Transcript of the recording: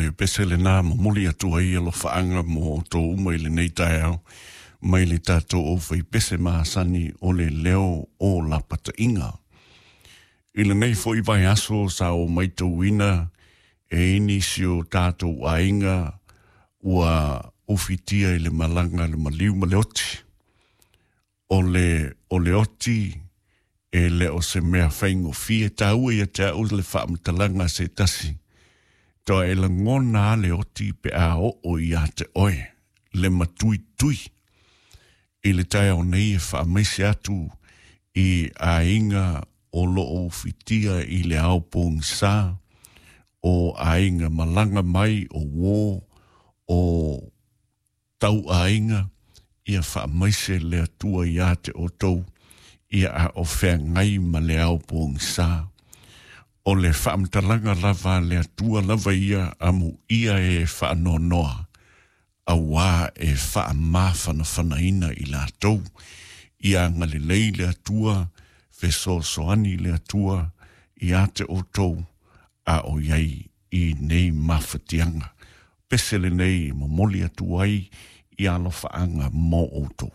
le pese lenā momoli atu ai alofaaga mo outou uma i lenei taeao mai le tatou aufaipese masani o le leo o lapataiga. I lenei foi vaiaso sa ou maitauina e i nisi o tatou aiga ua ufitia i le malaga a le maliu ma le oti. O le, o le oti e le o se mea faigofie taua ia te au le faamatalaga a se tasi. Toa e lagona a le oti pe a oo ia te oe, le matuitui. I le taeao nei e faamaise atu i aiga o lo o ufitia i le ao pogisa, o aiga malaga mai, o uō, o tauaiga, ia faamaise le Atua ia te outou, ia a o feagai ma le ao pogisa. O le faamatalaga lava a le Atua lava ia amuia e faanoanoa, auā e faamafanafanaina i latou. Ia agalelei le Atua, fesoasoani le Atua ia te outou, a o i ai i nei mafatiaga. Pese lenei e momoli atu ai i alofaaga mo outou.